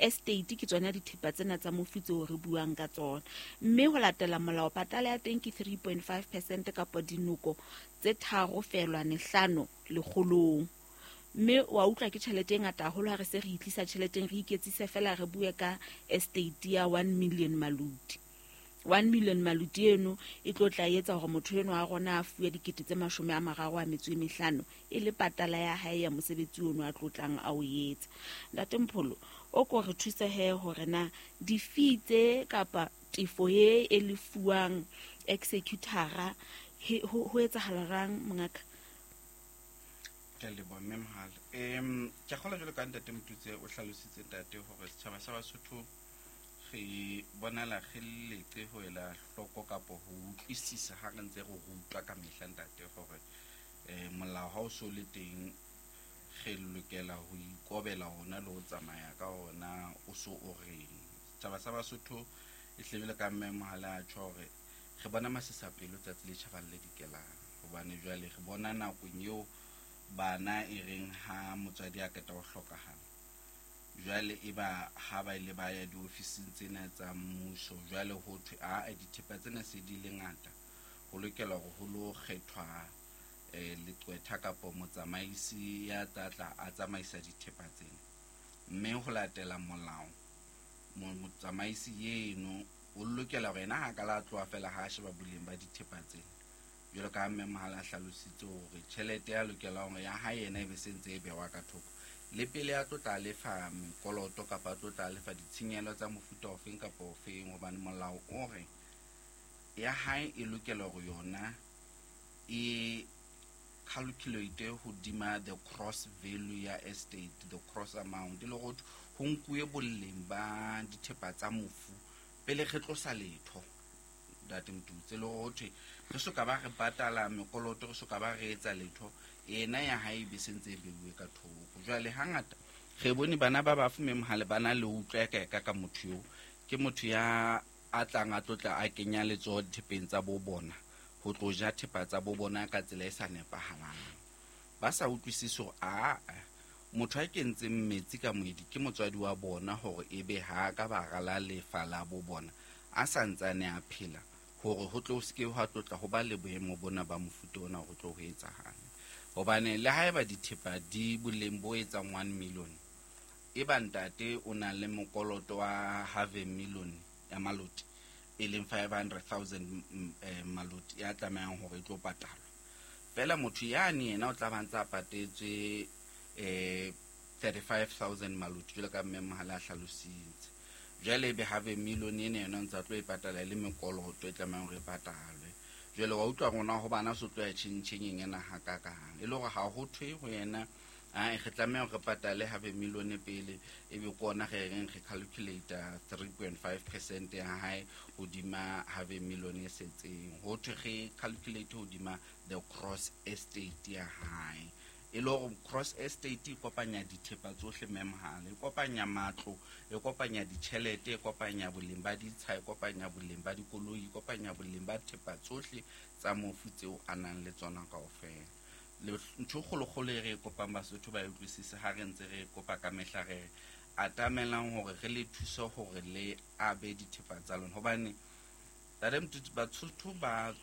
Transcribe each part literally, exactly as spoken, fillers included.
Estate ke tsona dithepa tsena tsa mofu tseo re buang ka tsona. Mme ho latela molao patala ya teng ke three point five percent kapa dinoko tse tharo feelwane hlano lekgolong. Mme wa utlwa ke tjhelete e ngata haholo ha re se re itlisa tjheleteng, re iketsise fela re bue ka estate ya one million maluti. one million maluti eno e tlo tla etsa hore motho eno a rona a fuwe dikete tse mashome a mararo a metso e mehlano e le patala ya hae ya mosebetsi ono a tlotlang a o etsa. Ntate Mpholo, o ko re thuse he hore na di-fee tse kapa tefo e e lefuwang executor-a ho, ho etsahala jwang mongaka? Ke a leboha mme Mohale. Em, ke a kgolwa jwalo ka ntate Motutse o hlalositse ntate hore setjhaba sa Basotho re bonala re letse ho ela hloko kapo ho utlwisisa ha re ntse re rutwa ka mehla ntate hore, eh, molao ha o so le teng re lokela ho ikobela ona le ho tsamaya ka ona o so o reng. Setjhaba sa Basotho e hle jwalo ka mme Mohale a tjho hore re bona masisapelo tsatsi le tjhabang le dikelang, hobane jwale re bona nakong eo bana e reng ha motswadi a qeta ho hlokahala, jwale e ba ha ba ile ba ya diofising tsena tsa mmuso, jwale ho thwe a dithepa tsena se di le ngata, ho lokela hore ho lo kgethwa, eh, leqwetha kapo motsamaisi ya tla tla a tsamaisa dithepa tsena. Mme ho latela molao, mo-, motsamaisi eno o lokela hore yena ha ka la tloha fela ha a sheba boleng ba dithepa tsena, jwalo ka ha mme Mohale a hlalositse hore tjhelete ya lokelang hore ya hae yena e be se ntse e behwa ka thoko, le pele a tlo tla lefa mekoloto kapa a tlo tla lefa ditshenyehelo tsa mofuta ofeng kapa ofeng, hobane molao o re ya hae e lokela hore yona e calculate hodima the cross value ya estate, the cross amount, e le hore ho nkuwe boleng ba dithepa tsa mofu pele re tlosa letho. Ntate Motutse, le hore ho thwe re soka ba re patala mekoloto, re soka ba re etsa letho, yena ya hae e be se ntse e beuwe ka thoko. Jwale hangata re bone bana ba bafu mme Mohale ba na le ho utlwa ka ka ka motho eo, ke motho ya a tlang a tlotla a kenya letsoho dithepeng tsa bo bona, ho tlo ja thepa tsa bo bona ka tsela e sa nepahalang. Ba sa utlwisise hore aa motho a kentseng metsi ka moedi ke motswadi wa bona, hore ebe ha ka ba rala lefa la bo bona a sa ntsane a phela, hore ho tlo se ke hwa tlotla ho ba le boemo bona ba mofuta ona ho tlo ho etsahala. Hobane le haeba dithepa di boleng bo etsang one million, e ba ntate o na le mokoloto wa half a million ya maloti, e leng five hundred thousand, mm, eh, maloti ya tlamehang hore e tlo patalwa. Feela motho yane yena o tla ba ntse a patetswe, eh, thirty-five thousand maloti, jwalo ka mme Mohale a hlalositse. Jwale ebe half a million ena yona o ntse a tlo e patala e le mekoloto e tlamehang hore e patalwe. Jwale wa utlwa rona ho bana so tlo ya tjhentjhengeng ena hakakang, e le hore ha ho thwe ho yena, ah, re tlameha hore re patale half a million pele, ebe ke ona re reng re calculate three point five percent ya hae hodima half a million e setseng. Ho thwe re calculate hodima the cross estate ya hae, e le hore cross estate e kopanya dithepa tsohle mme Mohale, e kopanya matlo, e kopanya ditjhelete, e kopanya boleng ba ditsha, e kopanya boleng ba dikoloi, e kopanya boleng ba thepa tsohle tsa mofu tseo a nang le tsona kaofela. Le ntho e kgolokgolo e re e kopang Basotho ba e utlwisise ha re ntse re kopa ka mehla, re re atamelang hore re le thuse hore le abe dithepa tsa lona, hobane Ntate Motutsi, Basotho ba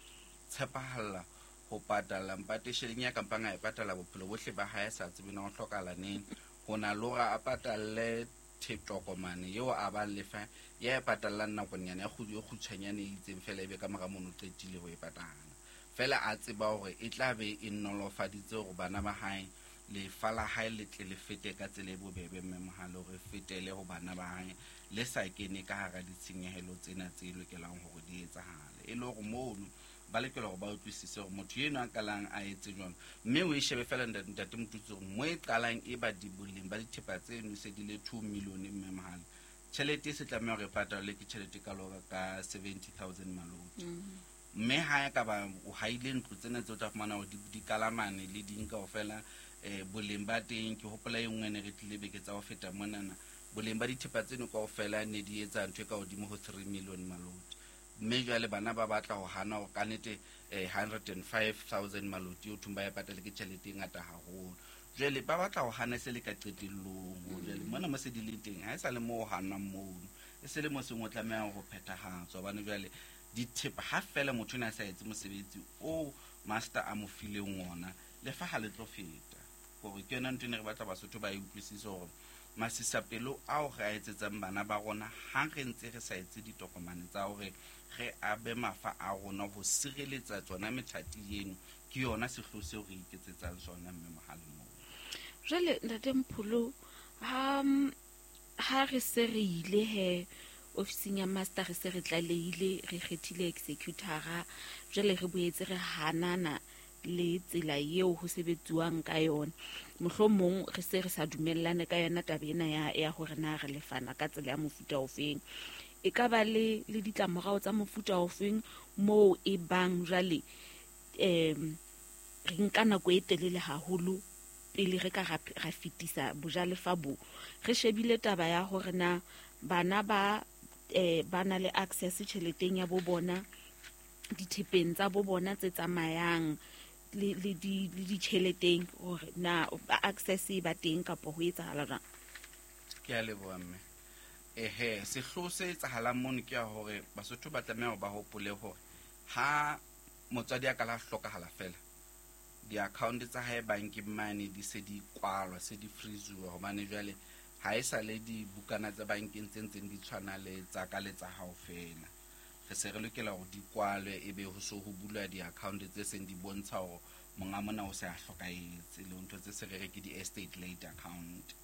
tshepahalla ho patala mpatesheleng ya kampang a e patala bophelo bohle ba hae, a sa tsebe na ho hlokahala neng. Ho na le hore a patalle tokomane eo a bang lefa ya e patallang nakonyana ya kgwedi e kgutshwanyane e itseng fela, ebe ka mora mono o qetile ho e patala. Fela a tseba hore e tla be e nolofaditse hore bana ba hae lefa la hae le tle le fete ka tsela e bobebe, mme Mohale hore e fetele ho bana ba hae le sa kene ka hara ditshenyehelo tsena tse lokelang hore di etsahale. E le hore mono ba lokela hore ba utlwisise hore motho eno a qalang a etse jwang, mme o e shebe fela ntate, ntate Motutsi hore mo e qalang e ba di boleng ba dithepa tseno se di le two million, mme Mohale tjhelete e se tlameha hore e patalwe ke tjhelete e kalo ka seventy thousand maloti. Mm-hmm. Mme ha e ka ba o haile ntlo tsena tseo tla fumana hore di, di kalamane le ding kaofela, eh, boleng ba teng, ke hopola e nngwe ne re tlile beke tsa ho feta monana, boleng ba dithepa tseno kaofela ne di etsa ntho e ka hodimo ho three million maloti. Mme jwale bana ba batla ho hana hore ka nnete, eh, hundred and five thousand maloti o thong ba e patale ke tjhelete e ngata haholo. Jwale ba batla ho hana se le ka qetellong. Jwale mona mo se di le teng ha e sa le mo hanang mono. E se le mo seng o tlameha ho phethahatswa hobane jwale dithepa ha fela motho na sa etse mosebetsi o master a mo fileng ona le fa ha le tlo feta. Hore ke yona ntho e ne re batla Basotho ba e utlwisise hore masisapelo ao re a etsetsang bana ba rona ha re ntse re sa etse ditokomane tsa hore re abe mafa a rona ho sireletsa tsona methati eno ke yona sehloho seo re iketsetsang sona mme Mohale moo. Jwale ntate Mpholo, ha ha re se re ile he ofising ya master re se re tlalehile re kgethile executora, jwale re boetse re hanana le tsela eo ho sebetsuwang ka yona, mohlomong re se re sa dumellane ka yona taba ena ya ya hore na re lefana ka tsela ya mofuta ofeng, e ka ba le le ditlamorao tsa mofuta ofeng moo e bang jwale em re nka nako e telele haholo pele re ka ra fetisa bojalefa bo. Re shebile taba ya hore na bana ba eh ba na le access tjheleteng ya bo bona, dithepeng tsa bo bona tse tsamayang le le di le ditjheleteng, hore na access e ba teng kapa ho etsahala jwang? Ke a leboha mme. Ehe, sehloho se etsahalang mono ke ya hore Basotho ba tlameha hore ba hopole hore ha motswadi a ka la hlokahala fela, di-account tsa hae bankeng mane di se di kwalwa, se di freezuwa hobane jwale ha e sa le dibukana tsa bankeng tse ntseng di tshwana le tsa ka le tsa hao fela. Re se re lokela hore di kwalwe ebe ho so ho bulwa di-account tse seng di bontsha hore monga mona o se a hlokahetse, le ntho tse se re re ke di-estate late account.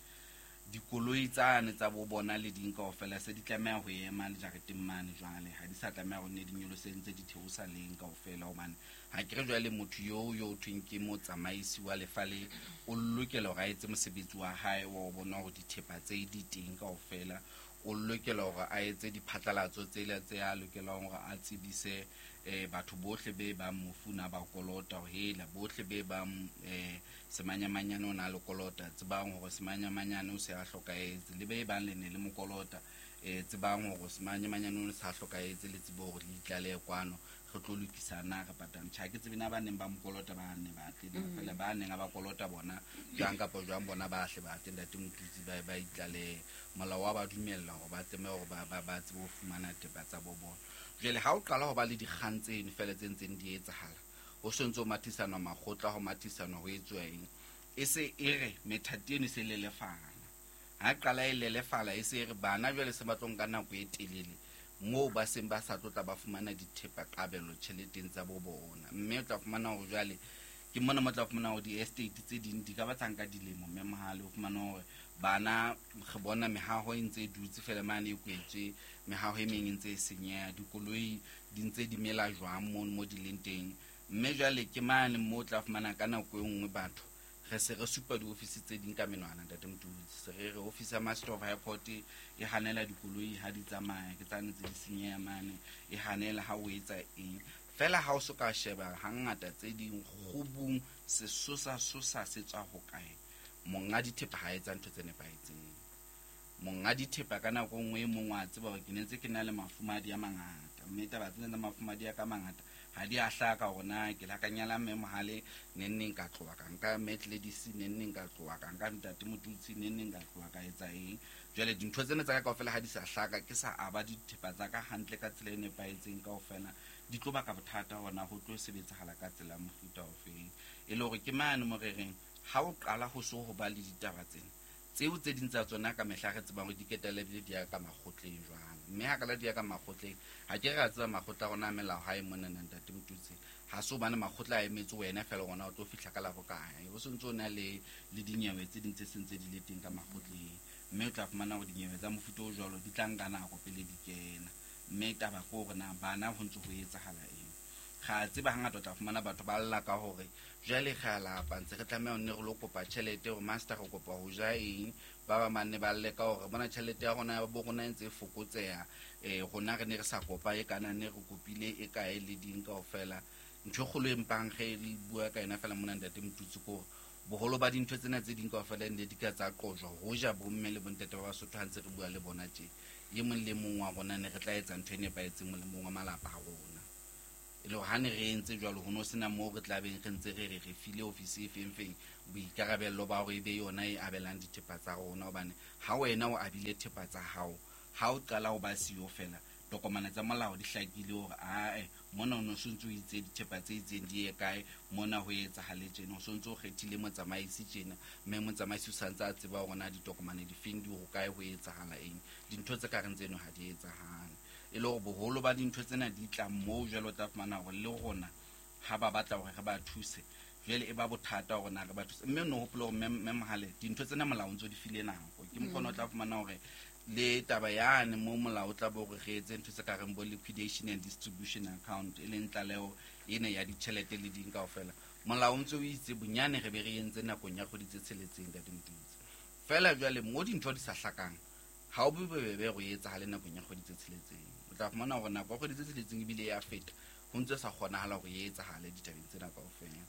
Dikoloi tsane tsa bo bona le ding kaofela se di tlameha ho ema jareteng mane jwale, ha di sa tlameha ho nne di nyolose ntse di theosa leng kaofela hobane ha ke re jwale motho yo yo thweng ke motsamaisi wa lefa le o lokela hore a etse mosebetsi wa hae wa ho bona hore dithepa tse di teng kaofela, o lokela hore a etse diphatlalatso tsela tse a lokelang hore a tsebise eh batho bohle be bang mofu na ba kolota ho hela bohle be bang eh semanyamanyane o na le kolota tsebang hore semanyamanyane o se a hlokahetse, le be bang le ne le mokolota eh tsebang hore semanyamanyane o se a hlokahetse, le tsebe hore le itlale kwano re tlo lokisa na re patang. Tjha ke tsebe na ba neng ba mokolota ba ne ba tle na fela ba neng ba kolota bona jwang kapa jwang bona ba hle ba tle ntate Motutsi ba ba itlale molao wa ba dumella hore ba tseme hore ba ba ba tsebe ho fumana thepa tsa bo bona. Jwale ha o qala ho ba le dikgang tseno fela tse ntseng di etsahala, ho sontso mathisana makgotla ho mathisana ho etswa eng, e se e re methati eno se lelefala. Ha qala e lelefala e se re bana jwale se ba tlo nka nako e telele moo ba seng ba sa tlotla ba fumana dithepa kabelo tjheleteng tsa bo bona. Mme o tla fumana hore jwale ke mona mo tla fumana hore di-estate tse ding di ka ba tsa nka dilemo mme Mohale o fumana hore bana re bona mehaho e ntse e dutse fela mane e kwetswe, mehaho e meng e ntse e senyeha, dikoloi di ntse di mela jwang mono mo di leng teng. Mme jwale ke mane mo tla fumana ka nako e nngwe batho re se re supa diofisi tse ding ka menwana ntate Motutsi, se re re ofisi ya Master of High Court e hanela dikoloi ha di tsamaya ke tsane tse di senyeha mane, e hanela ha o etsa eng fela ha o so ka sheba hangata tse ding kgubung sesosa sosa se tswa ho kae, monga dithepa ha etsa ntho tse nepahetseng. Monga dithepa ka nako nngwe e mong wa tseba hore ke ne ntse ke na le mafumadi a mangata, mme taba tsena tsa mafumadi a ka mangata ha di a hlaka hore na ke la ka nyala mme Mohale neng neng ka tloha ka nka Metledisi neng neng ka tloha ka nka ntate Motutsi neng neng ka tloha ka etsa eng. Jwale dintho tsena tsa ka kaofela ha di sa hlaka, ke sa aba dithepa tsa ka hantle ka tsela e nepahetseng kaofela, di tlo baka bothata hona ho tlo sebetsahala ka tsela mofuta ofeng. E le hore ke mane mo re reng ha o qala ho so ho ba le ditaba tsena tseo tse ding tsa tsona ka mehla re tsebang hore di ketele ebile di ya ka makgotleng jwang, mme ha kala di ya ka makgotleng ha ke re a tseba makgotla a rona a melao ha e mona na ntate Motutsi, ha se hobane makgotla a emetse wena fela rona o tlo fihla ka la bokae, o sontso o na le le dinyewe tse ding tse seng tse di le teng ka makgotleng, mme o tla fumana hore dinyewe tsa mofuta o jwalo di tla nka nako pele di kena. Mme taba ke hore na bana ho ntse ho etsahala eng. Ga tseba hangata o tla fumana batho ba lla ka hore jwale re a lapa ntse re tlameha ho nne re lo kopa tjhelete hore master re kopa ho ja eng, ba ba manne ba lle ka hore bona tjhelete ya rona ya bo rona e ntse e fokotseha, eh rona re ne re sa kopa e kana ne re kopile e kae le ding kaofela. Ntho e kgolo e mpang ge re bua ka yona fela mona ntate Motutsi ke hore boholo ba dintho tsena tse ding kaofela ne di ka tsa qojwa ho ja bomme le bontate ba Basotho ha ntse re bua le bona tje, e mong le mong wa rona ne re tla etsa ntho e nepahetseng molemong wa malapa a rona. E le hore ha ne re entse jwalo ho no sena moo re tla beng re ntse re re re file ofisi e feng feng boikarabello ba hore e be yona e abelang dithepa tsa rona, hobane ha wena o abile thepa tsa hao, ha o qala ho ba siyo fela, tokomane tsa molao di hlakile hore ae mona o no sontso o itse dithepa tse itseng di ye kae, mona ho etsahale tjena, o sontso o kgethile motsamaisi tjena, mme motsamaisi o santse a tseba hore na ditokomane di feng di ho kae, ho etsahala eng. Dintho tse ka reng tseno ha di etsahale. E le hore boholo ba dintho tsena di tla moo jwale o tla fumana hore le rona ha ba batla hore re ba thuse, jwale e ba bothata hore na re ba thuse. Mme o no hopole hore mme Mohale dintho tsena molao ntso di file nako. Ke mokgona o tla fumana hore le taba yane mo molao o tla bo re re etse ntho tse ka reng bo liquidation and distribution account, e leng tlaleho ena ya ditjhelete le ding kaofela. Molao o ntso o itse bonyane re be re entse nakong ya kgwedi tse tsheletseng ntate Motutsi. Feela jwale mo dintho di sa hlakang, ha o be bobebe hore e etsahale nakong ya kgwedi tse tsheletseng. O tla fumana hore nako ya kgwedi tse tsheletseng ebile ya feta, ho ntse sa kgonahala hore e etsahale ditabeng tsena kaofela.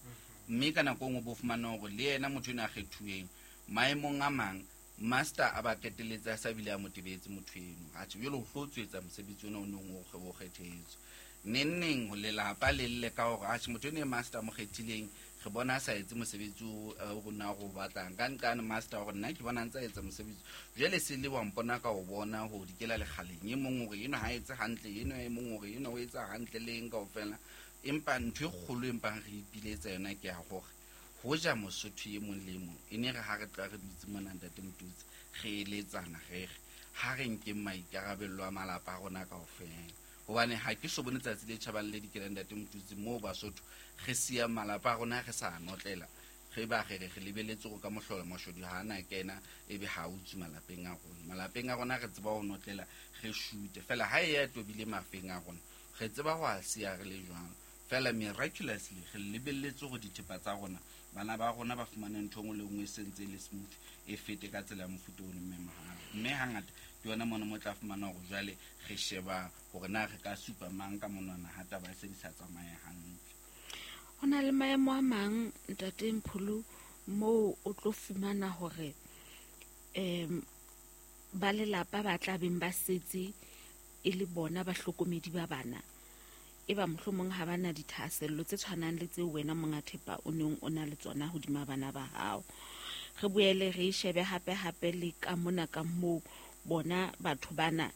Mme ka nako e nngwe bo fumana hore le yena motho enwa a kgethuweng maemong a mang, master a ba qetelletse a sa bile a mo tebetse motho eno. Atjhe, jwale o hlo tswetsa mosebetsi ona o neng o o kgethetswe. Neng neng lelapa le lle ka hore atjhe motho eno e master a mo kgethileng, re bona a sa etse mosebetsi o rona re o batlang. Ka nqane master hore nna ke bona a ntse a etsa mosebetsi. Jwale se le wa mpona ka o bona ho dikela lekgaleng. E mong hore enwa ha etse hantle, enwa e mong hore enwa o etsa hantle le eng kaofela. Empa ntho e kgolo empang re ipiletsa yona ke ya hore hoja Mosotho e mong le e mong e ne re ha re tla re dutse mona ntate Motutsi re eletsana re re ha re nkeng maikarabello a malapa a rona kaofela, hobane ha ke so bone tsatsi le tjhabang le dikelang ntate Motutsi moo Basotho re siya malapa a rona re sa notlela, re ba re re re lebeletse hore ka mohlolo mashodu ha ana kena ebe ha utswe malapeng a rona. Malapeng a rona re tseba ho notlela re shute fela, ha e ya tobile mafeng a rona re tseba ho a siya re le jwang. Fela miraculously re lebelletse hore dithepa tsa rona bana ba rona ba fumane ntho engwe le nngwe e sentse e le smooth e fete ka tsela ya mofuta o mme Mohale. Mme hangata ke yona mona mo tla fumana hore jwale re sheba hore na re ka supa mang ka monwana ha taba e se di sa tsamaye hantle. Ho na le maemo a mang ntate Mpholo moo o tlo fumana hore em ba lelapa ba tla beng ba setse e le bona bahlokomedi ba bana, e ba mohlomong ha bana dithahasello tse tshwanang le tseo wena monga thepa o neng o na le tsona hodima bana ba hao. Re boele re shebe hape hape le ka mona ka moo bona batho bana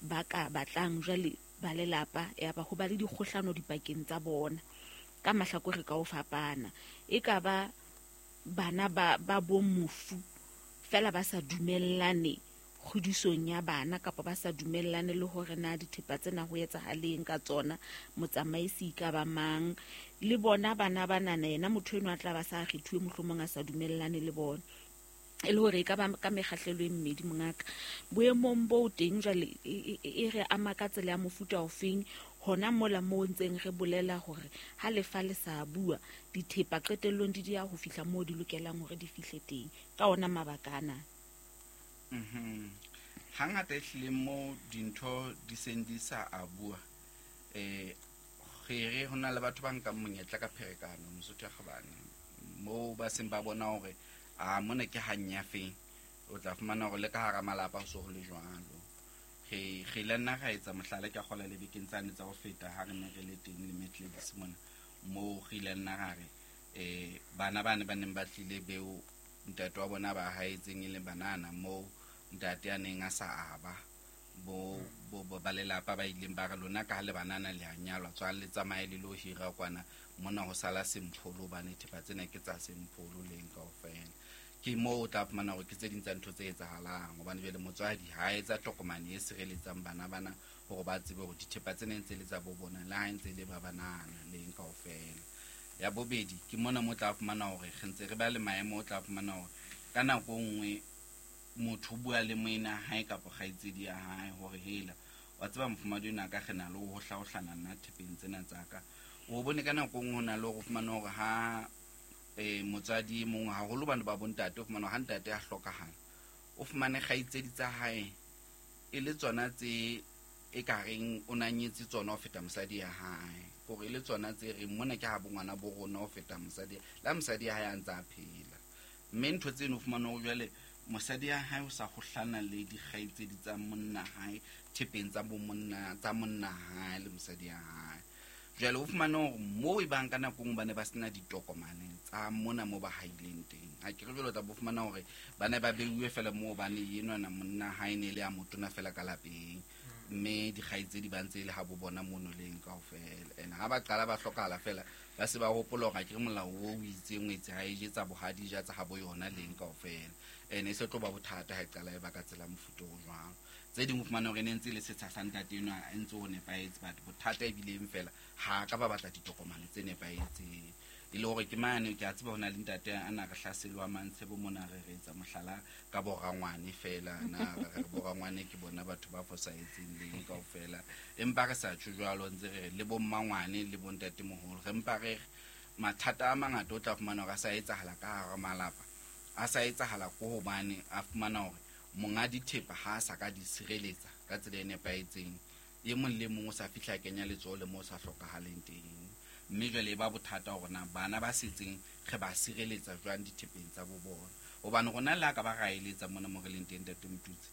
ba ka batlang jwale ba lelapa ya ba ho ba le dikgohlano dipakeng tsa bona ka mahlakore ka ho fapana. E ka ba bana ba ba bo mofu fela ba sa dumellane kgodisong ya bana, kapa ba sa dumellane le hore na dithepa tsena ho etsahaleng ka tsona, motsamaisi ka ba mang, le bona bana banana yena motho enwa a tla ba sa kgethuwe mohlomong a sa dumellane le bona. E le hore e ka ba ka mekgahlelo e mmedi mongaka. Boemong bo teng jwale e re ama ka tsela ya mofuta ofeng hona mola moo ntseng re bolela hore ha lefa le sa bua dithepa qetellong di dia ho fihla moo di lokelang hore di fihle teng ka ona mabaka ana. Mhm. Hangata e hlile mo dintho di seng di sa a bua, eh re re ho na le batho ba nkang monyetla ka pherekano Mosotho ya kgabane, moo ba seng ba bona hore a mona ke hanyafeng, o tla fumana hore le ka hara malapa ho so ho le jwalo. Re re ile nna ra etsa mohlala ke a kgola le bekeng tsane tsa ho feta ha re ne re le teng le Metledis mona, moo re ile nna ra re eh bana bane ba neng ba tlile beo ntate wa bona ba haetseng e le banana, moo ntate a neng a sa aba bo bo ba lelapa ba ileng ba re lona ka ha le banana le a nyalwa tswang le tsamaye le lo hira kwana mona ho sala Sempholo, hobane thepa tsena ke tsa Sempholo leng kaofela. Ke moo o tla fumana hore ke tse ding tsa ntho tse etsahalang, hobane jwale motswadi ha etsa tokomane e sireletsang bana bana hore ba tsebe hore dithepa tsena ntse le tsa bo bona le ha ntse le ba banana leng kaofela. Ya bobedi ke mona mo tla fumana hore re ntse re ba le maemo, o tla fumana hore ka nako nngwe motho o bua le moena hae kapa kgaitsedi ya hae hore hela wa tseba mofumadi ona ka re na le ho hlaohlana nna thepeng tsena tsa ka. O bone ka nako nngwe ho na le hore o fumane hore ha eh motswadi e mong haholo bana ba bontate, o fumane ha ntate a hlokahala o fumane kgaitsedi tsa hae e le tsona tse e ka reng o na nyetse tsona ho feta mosadi ya hae, hore e le tsona tse reng mona ke ha bongwana bo rona ho feta mosadi la mosadi ya hae a ntse a phela. Mme ntho tseno o fumane hore jwale mosadi ya hae o sa kgohlana le dikgaitsedi tsa monna hae thepeng tsa bo monna tsa monna hae le mosadi ya hae. Jwale o fumane hore moo e bang ka nako nngwe ba ne ba sena ditokomane tsa mona mo ba haileng teng. Ha ke re jwale o tla bo fumana hore ba ne ba beuwe fela moo hobane enwana monna ha e ne e le a motona fela ka lapeng. Mme dikgaitsedi ba ntse e le ha bo bona mono leng kaofela. And ha ba qala ba hlokahala fela, ba se ba hopola hore ha ke re molao o itseng o etse ha e je tsa bohadi, ja tsa habo yona leng kaofela. And e se tlo ba bothata ha e qala e ba ka tsela mofuta o jwalo. Tse ding o fumane hore e ne ntse e le setsha sa ntate enwa e ntse o nepahetse, but bothata ebileng fela ha ka ba batla ditokomane tse nepahetseng. E le hore ke mane ke a tseba ho na le ntate a na re hlaselwa Mantshebo mona re re etsa mohlala ka borangwane fela, na re re borangwane ke bona batho ba fosahetseng leng kaofela. Empa re sa tjho jwalo, ntse re re le bo mmangwane le bo ntatemoholo, re mpa re re mathata a mangata o tla fumana hore a sa etsahala ka hara malapa, a sa etsahala ko hobane a fumana hore monga dithepa ha a sa ka di sireletsa ka tsela e nepahetseng. E mong le mong o sa fihla kenya letsoho le moo sa hlokahaleng teng. Mme jwale e ba bothata hore na bana ba setseng re ba sireletsa jwang dithepeng tsa bo bona. Hobane rona le ha ka ba ra eletsa mona mo re leng teng, Ntate Motutsi,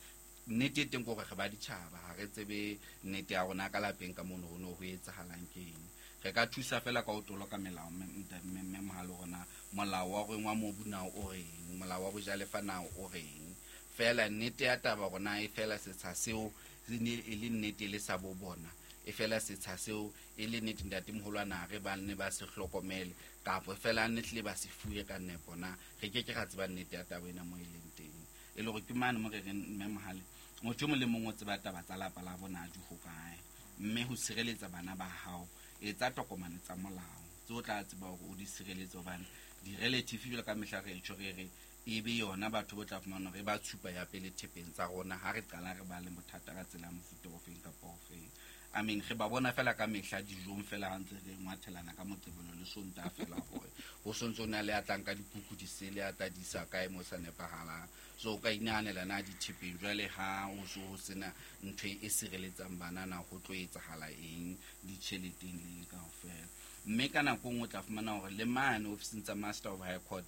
nnete e teng ke hore re ba ditjhaba, ha re tsebe nnete ya rona ka lapeng ka mono ho no ho etsahalang ke eng. Re ka thusa fela ka ho toloka melao, mme mohale hore na molao wa reng wa mobu na o reng, molao wa bojalefa na o reng. Fela nnete ya taba rona e fela setsha seo e ne e le nnete le sa bo bona, e fela setsha seo e le nnete ntatemoholo a na re ba nne ba se hlokomele, kapa fela ne hlile ba se fuwe ka nepo na, re ke ke ra tseba nnete ya taba ena mo e leng teng. E le hore ke mane mo re reng mme mohale, motho e mong le mong o tseba taba tsa lapa la bona di hokae, mme ho sireletsa bana ba hao etsa tokomane tsa molao tse o tla tseba hore o di sireletse, hobane di-relative jwalo ka mehla re tjho re re e be yona batho bo tla fumana hore ba tshupa ya pele thepeng tsa rona ha re qala re ba le bothata ka tsela ya mofuta ofeng kapa ofeng. I mean, re ba bona fela ka mehla dijong fela ha ntse re ngwathelana ka Moqebelo le Sontaha fela hore ho sontso o na le a tlang ka dikuku di sele, a tla di isa kae mo sa nepahalang. So o ka inahanela na dithepeng jwale ha ho so ho sena ntho e sireletsang bana na ho tlo etsahala eng ditjheleteng le kaofela. Mme ka nako nngwe o tla fumana hore le mane ofising tsa Master of High Court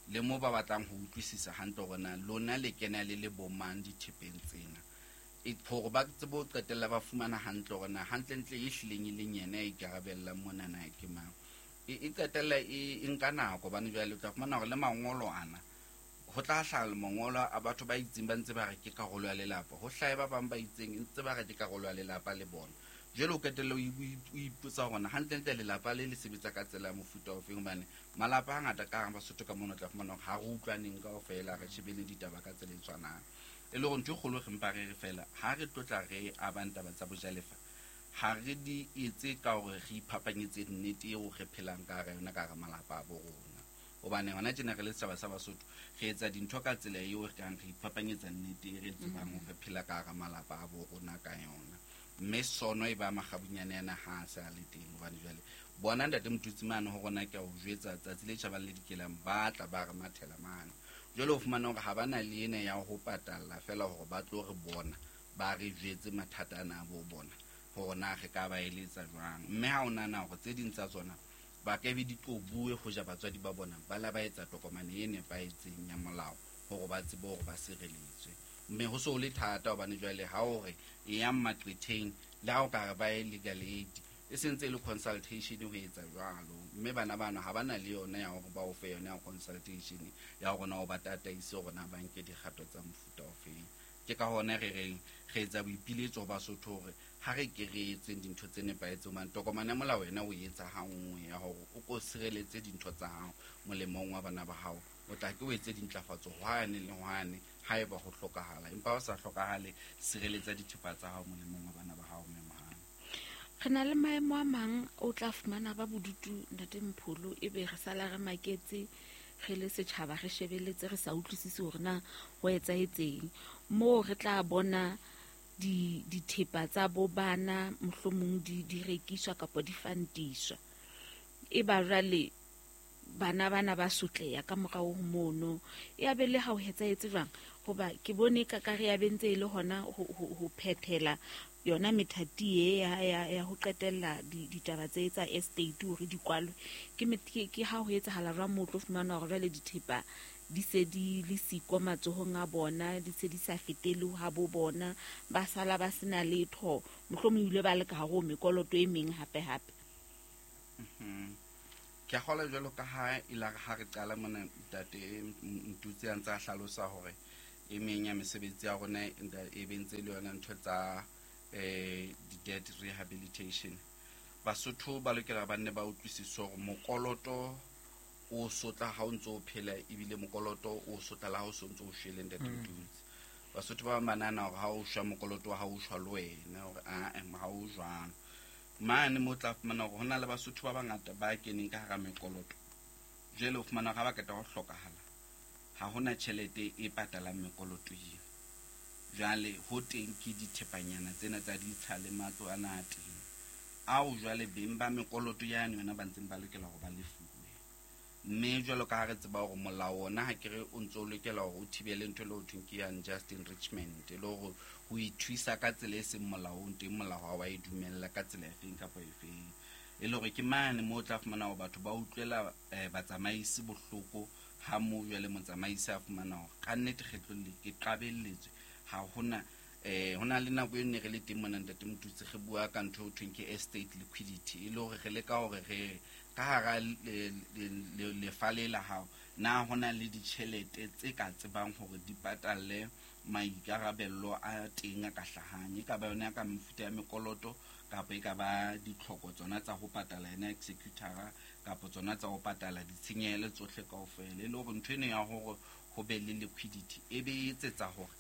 le mo ba batlang ho utlwisisa hantle hore na lona le kena le le bo mang dithepeng tsena, e hore ba tsebe ho qetella ba fumana hantle hore na hantlentle e hlileng e leng yena ya ikarabellang mona na ke mang. E, e qetella e, e nka nako, hobane jwale o tla fumana hore le mangolo ana ho tla hlaha mangolo a batho ba itseng ba ntse ba re ke karolo ya lelapa, ho hlahe ba bang ba itseng ntse ba re ke karolo ya lelapa le bona. Jwale o qetelle o ipotsa hore na hantlentle lelapa le le sebetsa ka tsela ya mofuta ofeng, hobane malapa a hangata ka hara Basotho ka mona o tla fumana hore ha re utlwaneng kaofela, re shebele ditaba ka tsela e tshwanang. E le hore ntho e kgolo re mpa re re fela ha re tlotla re abang taba tsa bojalefa, ha re di etse ka hore re iphapanyetse nnete eo re phelang ka hara yona ka hara malapa a bo rona. Hobane hona tjena re le setjhaba sa Basotho re etsa dintho ka tsela eo re kang re iphapanyetsa nnete e re tsebang hore re phela ka hara malapa a bo rona ka yona. Mme sono e ba makgabunyane ana ha a sa le teng, hobane jwale bona Ntate Motutsi mane ho rona ke a o jwetsa tsatsi le tjhabang le dikelang ba tla ba re mathela mane. Jwale o fumana hore ha ba na le ena ya ho patalla fela hore ba tlo re bona, ba re jwetse mathata ana a bo bona hore na re ka ba eletsa jwang. Mme ha o nahana hore tse ding tsa tsona ba ka be di tlo bue ho ja batswadi ba bona, ba la ba etsa tokomane e nepahetseng ya molao hore ba tsebe hore ba sireletswe. Mme ho so le thata hobane jwale ha o re e yang maqwetheng le ha o ka re ba ye legal aid, e sentse e le consultation ho etsa jwalo. Mme bana bana ha ba na le yona ya hore ba o fe yona ya consultation ya hore na o ba tataise hore na ba nke dikgato tsa mofuta ofeng. Ke ka hona re reng re etsa boipiletso ho Basotho hore ha re ke re etseng dintho tse nepahetseng, hobane tokomane ya molao wena o etsa ha nngwe ya hore o ko sireletse dintho tsa hao molemong wa bana ba hao. O tla ke o etse dintlafatso hwane le hwane haeba ho hlokahala, empa ha o sa hlokahale, sireletsa dithepa tsa hao molemong wa bana ba hao. Mme mohale, re na le maemo a mang o tla fumana ba bodutu Ntate Mpholo, ebe re sala re maketse re le setjhaba, re shebeletse re sa utlwisise hore na ho etsahetseng. Moo re tla bona di dithepa tsa bo bana mohlomong di di rekiswa kapa di fantiswa, e ba jwale bana bana ba sotleya ka morao ho mono. Ya be le ha ho etsahetse jwang, hoba ke bone ka ka re ya bentse e le hona ho ho phethela yona methati e ya ya ya ho qetella ditaba tse tsa estate hore di kwalwe. Ke ke ha ho etsahala jwang mo tlo fumana hore jwale dithepa di se di le siko matsohong a bona, di se di sa fetele ha bo bona, ba sala ba sena letho, mohlomong ile ba le ka hare ho mekoloto e meng hape hape. Ke a kgolwa jwalo ka ha e la ha re qala mona ntate Mtutsi a ntse a hlalosa hore e meng ya mesebetsi ya rona e be ntse le yona ntho tsa eh di-debt rehabilitation. Basotho ba lokela ba nne ba utlwisise hore mokoloto o sotla ha o ntso o phela, ebile mokoloto o sotla la ha o so ntso o shwele ntate Mtutsi. Basotho ba bang ba nahana hore ha o shwa mokoloto wa hao o shwa le wena, hore ae ha o jwalo. Mane mo tla fumana hore hona le Basotho ba bangata ba keneng ka hara mekoloto. Jwale o fumana hore ha ba qeta ho hlokahala, ha hona tjhelete e patalang mekoloto eo. Jwale ho teng ke dithepanyana tsena tsa ditsha le matlo ana a teng, ao jwale beng ba mekoloto yane yona ba ntseng ba lokela hore ba lefuwe. Mme jwalo ka ha re tseba hore molao ona ha ke re o ntso o lokela hore o thibele ntho e le ho thweng ke unjust enrichment, e le hore ho ithuisa ka tsela e seng molaong teng, molao ha wa e dumella ka tsela efeng kapa efeng. E le hore ke mane moo o tla fumana hore batho ba utlwela eh, batsamaisi bohloko, ha moo jwale motsamaisi a fumana hore ka nnete kgetlong le ke qabelletswe, ha hona eh hona le nako e ne re le teng mona ntate Motutsi re bua ka ntho e ho thweng ke estate liquidity, e le hore re leka hore re ka hara lefa le la hao na hona le ditjhelete tse ka tsebang hore di patalle maikarabello a teng a ka hlahang, e ka ba yona ka mefuta ya mekoloto kapa e ka ba ditlhoko tsona tsa ho patala yena executor-a kapa tsona tsa ho patala ditshenyehelo tsohle kaofela. E le hore ntho eno ya hore ho be le liquidity e be e etsetsa hore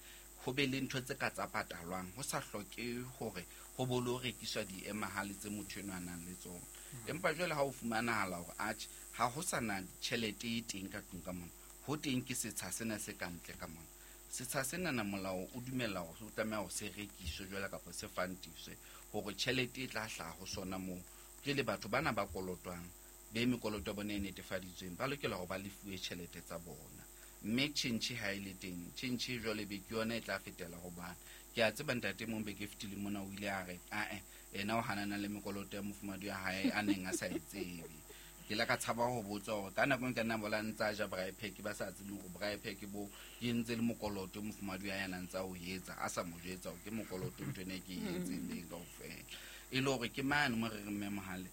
ho be le ntho tse ka tsa patalwang, ho sa hloke hore ho bo lo rekiswa diemahale tse motho enwa a nang le tsona. Empa jwale ha o fumanahala hore atjhe ha ho sa na tjhelete e teng ka tlung ka mona, ho teng ke setsha sena se ka ntle ka mona. Setsha sena na molao o dumella hore o tlameha hore se rekiswe jwale kapa se fantiswe hore tjhelete e tla hlaha ho sona moo. Jwale batho bana ba kolotwang be mekoloto ya bona e netefaditsweng ba lokela hore ba lefuwe tjhelete tsa bona. Mme tjhentjhe ha e le teng, tjhentjhe jwale be ke yona e tla fetela ho bana. Ke a tseba ntate mong beke e fetileng mona o ile a re ae ena o hanana le mekoloto ya mofumahadi wa hae a neng a sa e tsebe. Ke la ka tshaba ho botsa hore ka nako e ka nna bola ntsa ja braai pack ba sa tsebe hore braai pack bo ke ntse le mokoloto mofumahadi wa hae a nang ntsa o etsa, a sa mo jwetsa hore ke mokoloto ntho ena e ke e entseng le kaofela. E le hore ke mane mo re re mme Mohale,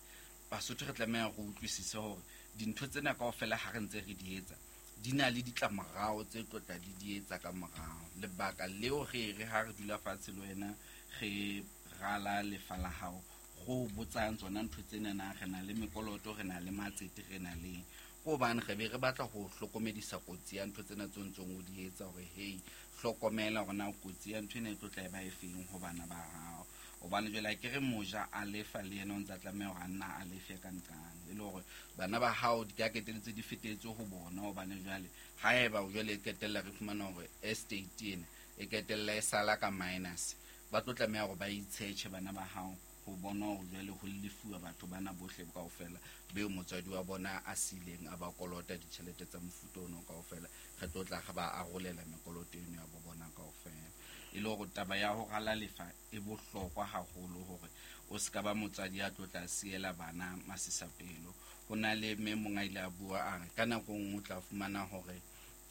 Basotho re tlameha ho utlwisise hore dintho tsena kaofela ha re ntse re di etsa di na le ditlamorao tse tlotla di di etsa ka morao. Lebaka leo re re ha re dula fatshe le wena re rala lefa la hao, go botsang tsona ntho tsena na re na le mekoloto, re na le matsete, re na le ko hobane re be re batla ho hlokomedisa kotsi ya ntho tsena tse ntseng o di etsa hore hey hlokomela hore na kotsi ya ntho ena e tlo tla e ba efeng ho bana ba hao. Hobane jwale ha ke re moja a lefa le yena o ntsa tlameha hore a nna a lefe ka nqane, e le hore bana ba hao di ka keteletse di fetetse ho bona. Hobane jwale haeba jwale e qetella re fumana hore estate ena e qetella e sala ka minus, ba tlo tlameha hore ba itshetjhe bana ba hao ho bona hore jwale ho lefuwa batho bana bohle kaofela beo motswadi wa bona a sileng a ba kolota ditjhelete tsa mofuta ono kaofela, re tlo tla re ba arolela mekoloto eno ya bo bona kaofela. E le hore taba ya ho rala lefa e bohlokwa haholo hore o ska ba motswadi ya tlo tla siela bana masisapelo. Ho na le mme mong a ile a bua a re ka nako nngwe o tla fumana hore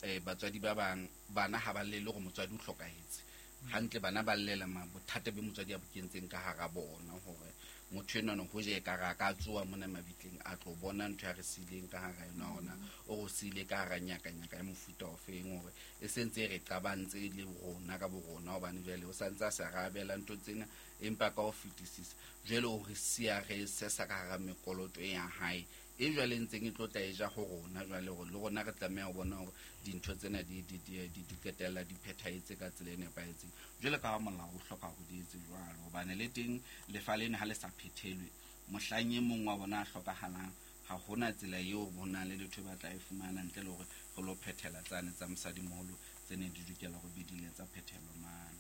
eh batswadi ba bang bana ha ba llele hore motswadi o hlokahetse hantle, bana ba llela ma bothata be motswadi a bo kentseng ka hara bona hore motho enwa no hoje ka ra ka tsoa mona mabitleng a tlo bona ntho ya re sileng ka hara yona hona o re sile ka hara nyaka nyaka ya mofuta o feng hore e sentse re qabantse le rona ka borona, hobane jwale o santse a sa rabela ntho tsena empa ka ho fetisisa jwale o re siya re sesa ka hara mekoloto ya hae e jwale ntseng e tlo tla e ja ho rona. Jwale hore le rona re tlameha ho bona hore dintho tsena di di di di di qetella di phethahetse ka tsela e nepahetseng jwale ka ha molao o hloka hore di etse jwalo. Hobane le teng lefa lena ha le sa phethelwe mohlang e mong wa bona a hlokahalang, ha hona tsela eo ho nang le letho ba tla e fumana ntle le hore re lo phethela tsane tsa mosadimoholo tse neng di lokela hore be di ile tsa phethelwa mane.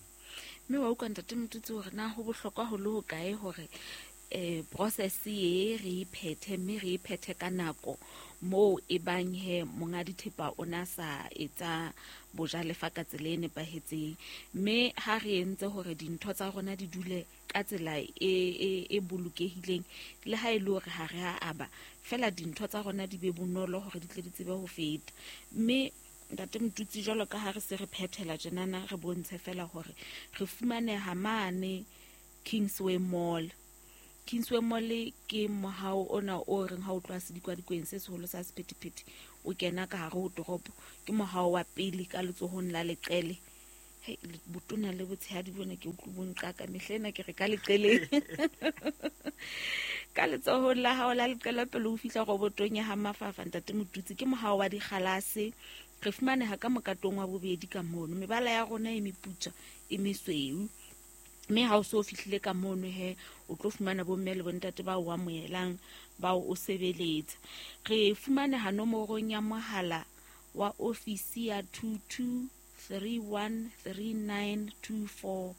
Mme wa utlwa ntate Motutsi hore na ho bohlokwa ho le hokae hore eh process e re iphethe, mme re iphethe ka nako moo e bang he monga dithepa o na sa etsa bojalefa ka tsela e nepahetseng. Mme ha re entse hore dintho tsa rona di dule ka tsela e e e bolokehileng, le ha e le hore ha re a aba fela dintho tsa rona di be bonolo hore di tle di tsebe ho feta. Mme ntate Motutsi jwalo ka ha re se re phethela tjenana, re bontshe fela hore re fumaneha mane Kingsway Mall. Kingsway Mall ke mohao ona o reng ha o tloha sedikwadikweni se seholo sa sephethephethe o kena ka hare ho toropo, ke mohao wa pele ka letsohong la leqele. Hey, botona le botshehadi bona ke utlwe bo nqaka mehla ena ke re ka leqeleng. Ka letsohong la hao la leqele pele o fihla robotong ya ha Mafafa ntate Motutsi, ke mohao wa dikgalase. Re fumaneha ka mokatong wa bobedi ka mono, mebala ya rona e meputswa e mesweu, mme ha o so fihlile ka mono he o tlo fumana bomme le bontate ba o amohelang ba o sebeletsa. Re fumaneha nomorong ya mohala wa ofisi ya two two three one three nine two four,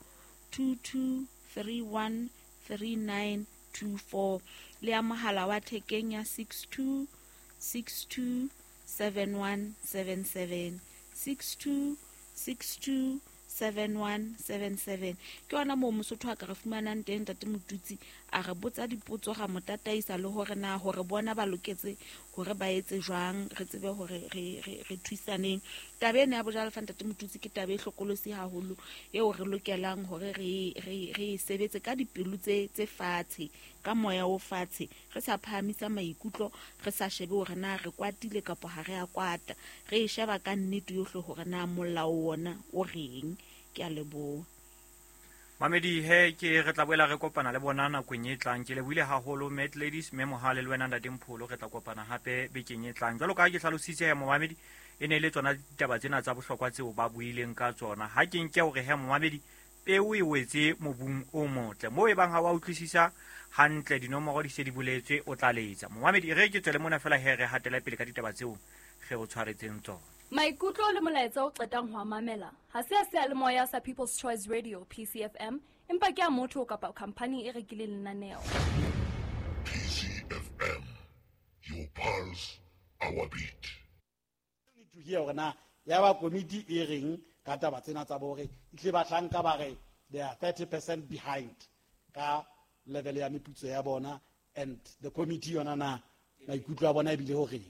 two two three one three nine two four, le ya mohala wa thekeng ya six two six two seven one seven seven, six two six two seven one seven seven. Ke yona moo Mosotho a ka re fumanang teng ntate Motutsi, a re botsa dipotso ra mo tataisa le hore na hore bona ba loketse hore ba etse jwang, re tsebe hore re re re thusaneng. Taba ena ya bojalefa ntate Motutsi ke taba e hlokolosi haholo eo re lokelang hore re re re sebetse ka dipelo tse tse fatshe, ka moya o fatshe, re sa phahamisa maikutlo, re sa shebe hore na re kwatile kapa ha re a kwata, re e sheba ka nnete yohle hore na molao wona o reng. Ke a leboha. Mamedi he ke re tla boela re kopana le bona nakong e tlang. Ke lebohile haholo Mad Ladies, mme Mohale le wena ntate Mpholo, re tla kopana hape bekeng e tlang. Jwalo ka ha ke hlalositse he momamedi, e ne e le tsona ditaba tsena tsa bohlokwa tseo ba buileng ka tsona. Ha ke nke hore he momamedi peo e wetse mobung o motle, moo e bang ha wa utlwisisa hantle dinomoro di se di boletswe, o tla letsa. Momamedi re ke tswele mona fela he re hatela pele ka ditaba tseo re o tshwaretseng tsona. Maikutlo le molaetsa o qetang ho mamela ha se a seyalemoya sa People's Choice Radio P C F M, empa ke a motho kapa company e rekileng lenaneo. P C F M, your pulse, our beat. To hear hore na ya ba komiti e reng ka taba tsena tsa bore itle batlang ka ba re they are thirty percent behind ka level ya meputso ya bona, and the committee yona na maikutlo a bona ebile ho reng.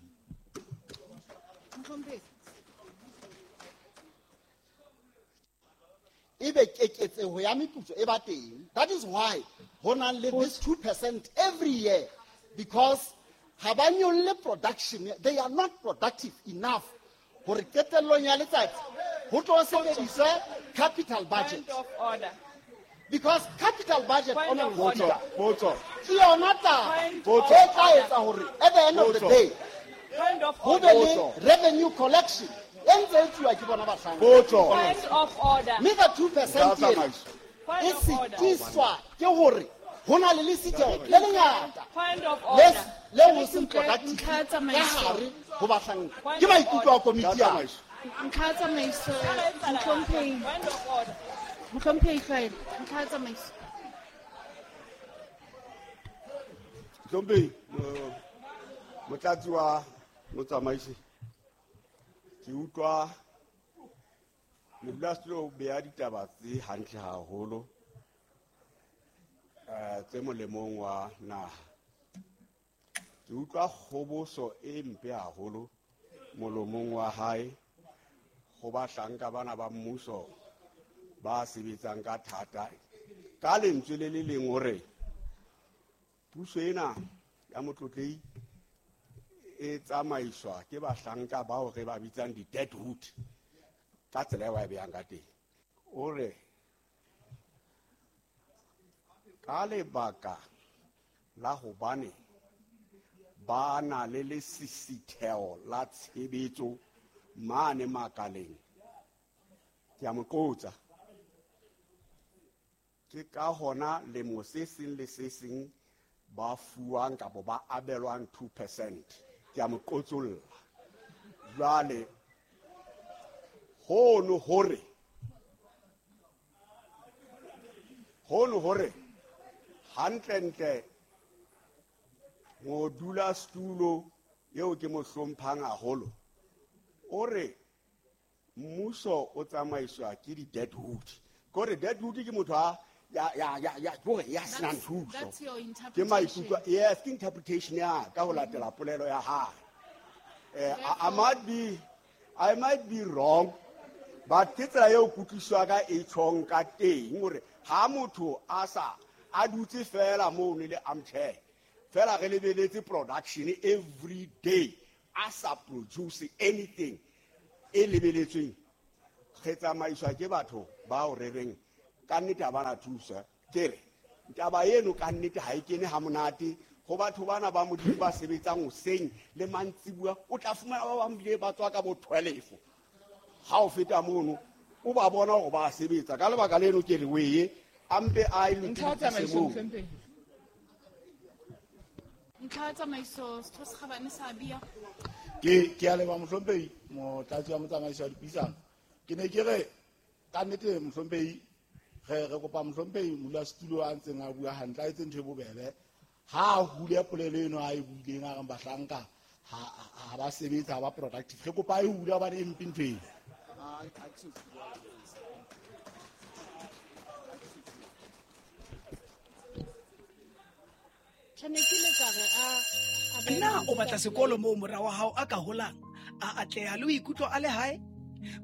Ebe keketseho ya meputso e ba teng. That is why ho na le this two percent every year, because ha ba nyolle production, they are not productive enough hore qetellong ya letsatsi ho tlo sebediswe capital budget. Point of order. Because capital budget Point of order. Potso ke yona taba e tla etsa hore at the end of the day ho be le revenue collection e ntse e tsuwa ke bona bahlanka. Point of order. Mme ka two percent e setiswa ke hore ho na le lesitho le lengata Point of order. le ho seng productive ka hare ho bahlanka. Ke maikutlo a komiti ya Ntlha ya tsamaiso, mohlomphehi. Point of order. Mohlomphehi Hlwaelo, ntlha ya tsamaiso. Mohlomphehi, motlatsi wa motsamaisi, ke utlwa modulasetulo o beha ditaba tse hantle haholo eh tse molemong wa naha. Ke utlwa kgoboso e mpe haholo molomong wa hae ho bahlanka bana ba mmuso ba sebetsang ka thata. Ka lentswe le le leng hore puso ena ya motlotlei e tsamaiswa ke bahlanka bao re ba bitsang di-dead wood ka tsela eo a e behang ka teng. O re ka lebaka la hobane ba na le lesisitheho la tshebetso mane makaleng, ke a mo qotsa, ke ka hona lemo se seng le se seng ba fuwang kapa ba abelwang two percent. Ke a mo qotsolla. Jwale hono hore hono hore hantlentle modulasetulo eo ke mo hlomphang haholo o re mmuso o tsamaiswa ke di-dead wood. Kore dead wood ke motho a ya ya ya ya kore ya senang thuso. Ke maikutlo, yes, ke interpretation ya ka ho latela polelo ya hae. Eh, I, I might be I might be wrong, but ke tsela eo kutlwiswa ka e tjhong ka teng hore ha motho a sa A dutse fela mono le armchair. Fela re lebeletse production every day. A sa produce anything. E lebeletsweng. Re tsamaiswa ke batho bao re reng ka nnete ha bana thusa. Ke re taba eno ka nnete ha e kene ha monate ho batho bana ba Modimo ba sebetsang hoseng le mantsibuya, o tla fumana ba bang bile ba tswa ka bo twelve. Ha o feta mono o ba bona hore ba sebetsa. Ka lebaka leno ke re weye a mpe a e lokise moo. Ntlha tsamaiso setho se kgabane sa bia. Ke ke a leboha mohlomphehi motlatsi wa motsamaiso wa dipuisano. Ke ne ke re ka nnete mohlomphehi re re kopa mohlomphehi modulasetulo a ntseng a bua hantle a etse ntho e bobebe. Ha a hule polelo eno a e buileng a reng bahlanka ha ha ba sebetse ha ba productive. Re kopa e hule hobane e mpe ntho eno. Na o batla sekolo moo mora wa hao a ka holang, a atleha le ho ikutlwa a le hae?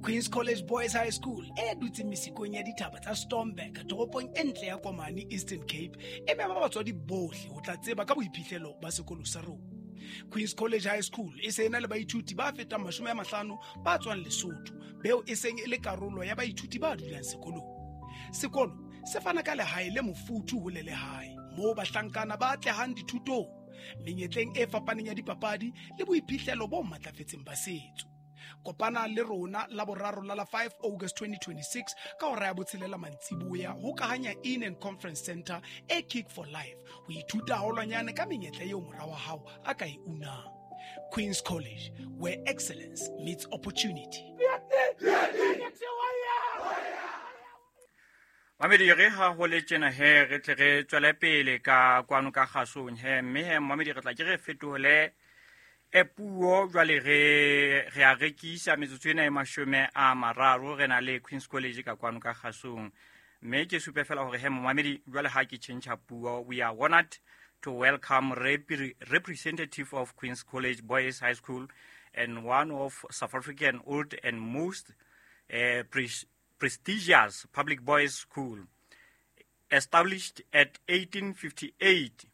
Queen's College Boys High School e dutseng mesikong ya dithaba tsa Stormberg toropong e ntle ya Komani Eastern Cape e mema batswadi bohle ho tla tseba ka boiphihlelo ba sekolo sa rona. Queen's College High School e se ena le baithuti ba fetang mashome a mahlano ba tswang Lesotho, beo e seng e le karolo ya baithuti ba dulang sekolong. Sekolo se fana ka lehae le mofuthu ho le lehae moo bahlankana ba atlehang dithutong, menyetleng e fapaneng ya dipapadi le boiphihlelo bo matlafetseng ba setso. Kopana le rona la boraro la la five August twenty twenty-six ka hora ya botshelela mantsiboya ho Kahanya Inn and Conference Center e Kick for Life ho ithuta haholwanyane ka menyetla eo mora wa hao a ka e unang. Queen's College, where excellence meets opportunity. Mamedi re ha ho le tjena he re tle re tswele pele ka kwano ka kgasong he, mme he mamedi re tla ke re fetohole e puo jwale re re a rekisa metsotso ena e mashome a mararo re na le Queen's College ka kwano ka kgasong. Mme ke supe fela hore he mamedi jwale ha ke tjhentjha puo, we are honored to welcome rep- representative of Queen's College Boys High School and one of South African old and most uh, pre- prestigious public boys school, established at eighteen fifty-eight.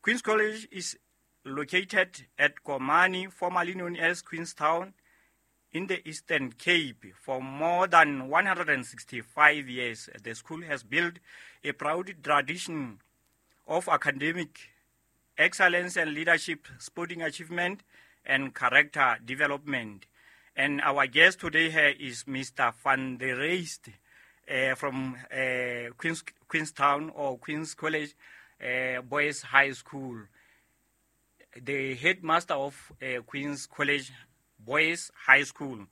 Queen's College is located at Komani, formerly known as Queenstown, in the Eastern Cape. For more than one hundred sixty-five years, the school has built a proud tradition of academic excellence and leadership, sporting achievement, and character development. And our guest today here is Mister Van der Reist uh, from uh, Queens, Queenstown or Queen's College uh, Boys High School, the headmaster of uh, Queen's College Boys High School,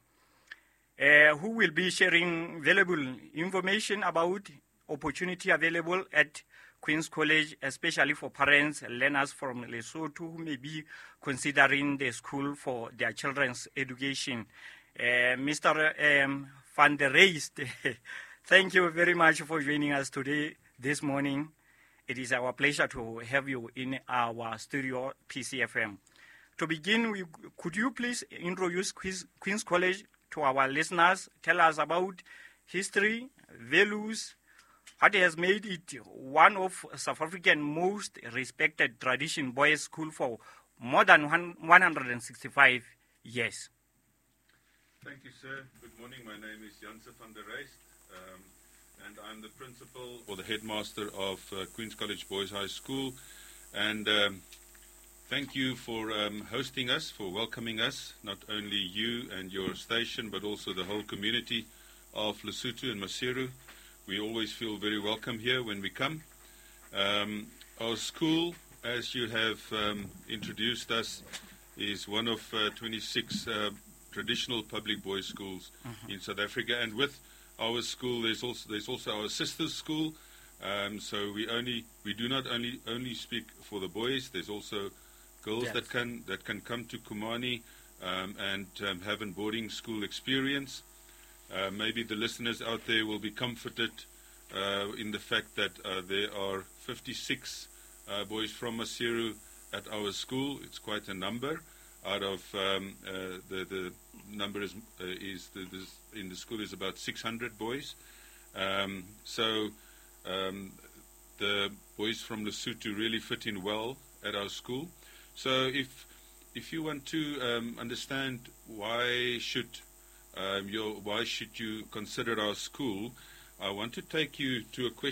uh, who will be sharing valuable information about opportunity available at Queen's College, especially for parents and learners from Lesotho who may be considering the school for their children's education. Uh, Mister Um, Van der Reist, thank you very much for joining us today, this morning. It is our pleasure to have you in our studio, P C F M. To begin, we, could you please introduce Queen's, Queen's College to our listeners? Tell us about history, values, what has made it one of South Africa's most respected tradition boys' school for more than one hundred sixty-five years. Thank you, sir. Good morning. My name is Janse van der Reist, um, and I'm the principal or the headmaster of uh, Queen's College Boys High School. And um, thank you for um, hosting us, for welcoming us, not only you and your station, but also the whole community of Lesotho and Maseru. We always feel very welcome here when we come. Um, our school, as you have um, introduced us, is one of uh, twenty-six uh, traditional public boys' schools mm-hmm. in South Africa. And with our school, there's also there's also our sister's school. Um, so we only we do not only only speak for the boys. There's also girls yes. that can that can come to Komani um, and um, have a boarding school experience. Uh, maybe the listeners out there will be comforted uh, in the fact that uh, there are fifty-six uh, boys from Maseru at our school. It's quite a number. Out of um, uh, the the number is uh, is the, this in the school is about six hundred boys. Um, so um, the boys from Lesotho really fit in well at our school. So if if you want to um, understand why should um, your, why should you consider our school, I want to take you to a question.